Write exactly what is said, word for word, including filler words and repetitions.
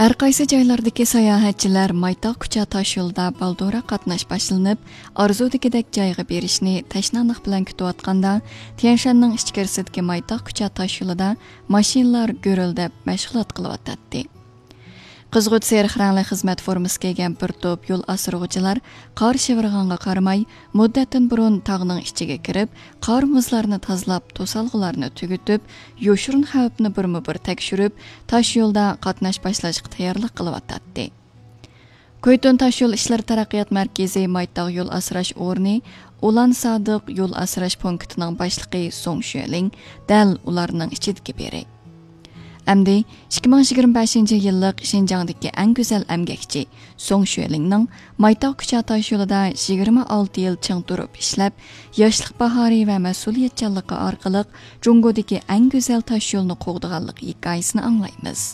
ھەر قايسى جايلاردىكى ساياھەتچىلەر مايتاغ كۇچا تاشيولىدا بالدۇرراق قاتناش باشلىنىپ، ئارزۇدىكىدەك جايغا بېرىشنى تەشنالىق بىلەن كۈتۈۋاتقاندا، تيەنشاننىڭ ئىچكىرىسىدىكى مايتاغ كۇچا تاشيولىدا ماشىنىلار گۈرۈلدەپ مەشغۇلات قىلىۋاتاتتى. قىزغۇچ سېرىق رەڭلىك خىزمەت فورمىسى كىيگەن بىر توپ يول ئاسرىغۇچىلار قار شىۋىرغانغا قارىماي، مۇددەتتىن بۇرۇن تاغنىڭ ئىچىگە كىرىپ، قار مۇزلارنى تازىلاپ، توسالغۇلارنى تۈگىتىپ، يوشۇرۇن خەۋپنى بىرمۇ بىر تەكشۈرۈپ، تاشيولدا قاتناش باشلاشقا تەييارلىق قىلىۋاتاتتى. كۇيتۇن تاشيول ئىشلىرى تەرەققىيات مەركىزى مايتاغ يول ئاسراش ئورنى ئۇلان سادىق يول ئاسراش پونكىتىنىڭ باشلىقى سۇڭ شۈەلىڭ دەل ئۇلارنىڭ ئىچىدىكى بىرى. ئەمدى ئىككى مىڭ يىگىرمە بەشىنچى يىللىق شىنجاڭدىكى ئەڭ گۈزەل ئەمگەكچى سۇڭ شۈەلىڭنىڭ مايتاغ كۇچا تاشيولىدا يىگىرمە ئالتە يىل چىڭ تۇرۇپ ئىشلەپ، ياشلىق باھارى ۋە مەسئۇلىيەتچانلىقى ئارقىلىق جۇڭگودىكى ئەڭ گۈزەل تاشيولنى قوغدىغانلىق ھېكايىسىنى ئاڭلايمىز.